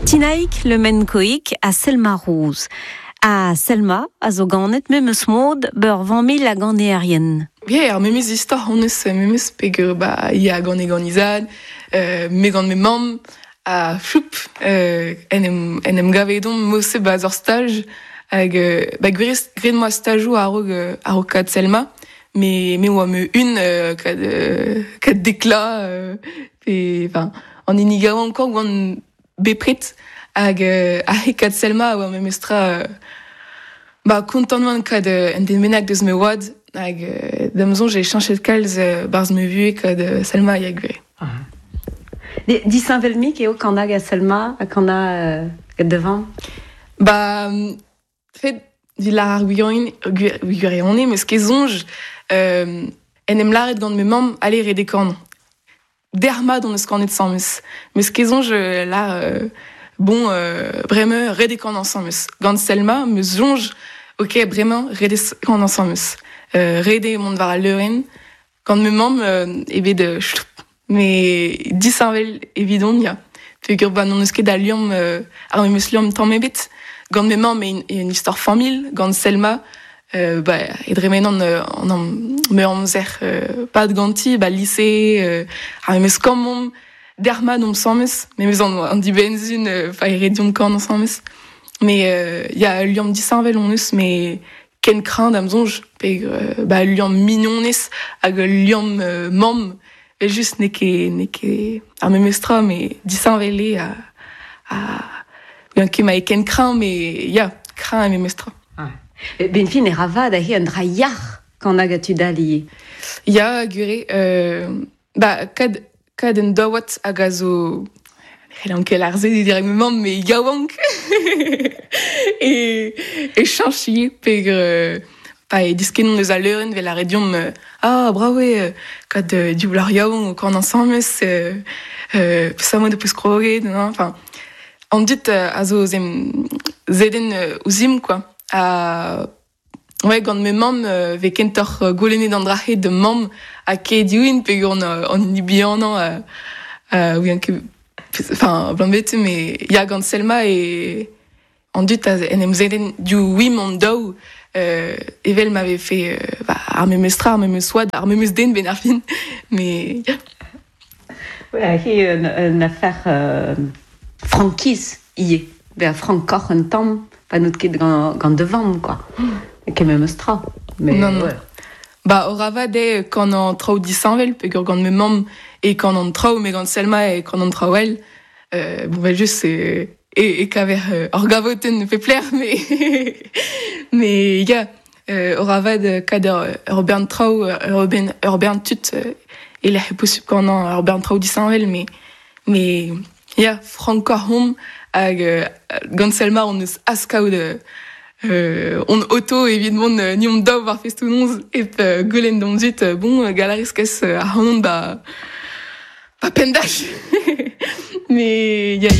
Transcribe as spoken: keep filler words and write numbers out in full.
Tinaik Le Menkoik a Selma Rouz. A Selma a zo ganet memes mod beur vanmil a ganeerien. Yeah, ar memes istor hon eus memes peger ba ya gant e gant izad, euh, me gant me mamm a floup euh, en em, en em gavedon mose ba zor stage hag euh, ba gwirez gret moa stajou a-raok a-raok kad Selma me me oa me un euh, kad euh, kad dekla euh, pe enfin an hini gawan encore oan bepret hag euh, a he kad Selma oa memes tra euh, ba kontant oan kad euh, en den bennak deus me oad hag euh, da'm soñj e chañchet kalz euh, barzh me vuhez kad euh, Selma ya gwir. Disheñvel-mik eo kanag a Selma a kana euh, devant. Ba fet vil ar gwirionin gwirionne meus ket soñj euh, en em lâret gant me mamm ale re dekan. Dermat on eus kanet sañmeus. Meus ket soñj la euh, bon euh, bremañ re dekan ensemble. Gant Selma meus soñj ok bremañ re dekan ensemble. Euh, re de mont war al leurenn gant me mamm euh, ebet euh, me disheñvel evidon ya. Peogwir ba n'on eus ket a liamm euh, ar memes liamm tamm ebet. Gant me mamm e un istor familh, gant Selma euh, ba e dremenan euh, an am me amzer euh, pad ganti ba lycée euh, ar memes kammomp dermat omp sañmeus memes an, an dibenzun euh, fa e rediomp kan ensemble. Mais euh, ya liamm disheñvel on eus mais ken kreñv da'm soñj pe euh, ba liamm mignonez hag liamm euh, mamm e just n'eo ket n'eo ket ar memes tra mais disheñvel eo a a gant ket ma e ken kreñv mais ya kreñv e memes tra. Ah. Ben fin e ravad a he an dra yac'h kanag a tud all ivez. Ya gwir euh, ba kad kad un daouad hag a zo c'hellan ket ar se direct me mamm mais yaouank e e chañch ivez peogwir euh, Pa e diskenon eus a leuren vel a rediom euh, ah bravo eo kad euh, div lar yaouank o kan ensembles euh, euh, peus de peus kroget non enfin an dit euh, a zo zem zeden euh, ouzim quoi a ouais gant me mamm euh, ve kentoc'h euh, golennet an drahe de mamm a ke diouin pe gant euh, an hini bihanañ euh, euh, oui, ket enfin blant bet mais ya gant Selma e an dut a en em zeden du wim an daou euh, evel m'avait fait euh, bah, ar memes tra, ar memes oad, ar memes den ben ar fin, mais yeah. Ouais, hi un, un affaire euh, frankiz ivez. Ben frankoc'h un tamm, pa n'out ket gant, gant de vamm, quoi. Mm. Ket memes tra. Mais, non, non. Ouais. Ba, ora de kan an traoù disheñvel, peogwir gant me mamm e kan an traoù, me gant Selma e kan an traoù el. Euh, bon, ben just, e, e, e kaver euh, ur gavotenn ne fait plaire, mais mais ya, euh, ora vad kad ur, ur bern traoù, ur bern, ur bern tud, euh, e lec'h e posubl kan an ur bern traoù disheñvel, mais mais ya, frankoc'h omp hag euh, gant Selma on eus askaout euh, euh, on auto evit mont euh, ni on daou war festoù-noz ep euh, goulenn d'hon zut euh, bon galarez kes euh, ar c'hanon ba ba pendach mais ya.